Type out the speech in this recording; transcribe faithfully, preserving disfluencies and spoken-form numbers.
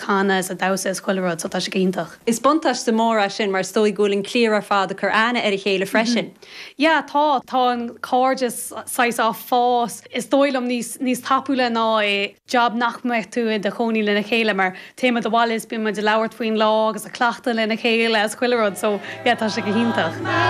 canadh is ag damhsa is chuile rud so tá sé iontach. Is buntáiste mór é sin mar is dóigh go bhfuil an cliar ar fad ag cur aithne ar a chéile freisin. Yeah, tá tá an cairdeas saghas á fás is dóigh liom níos níos tapúla ná é job nach mbeadh tú i do chónaí lena chéile mar téimid abhaile is bíonn muid ag labhairt faoin lá agus ag cleachtadh lena chéile is chuile rud so yeah, tá sé go hiontach.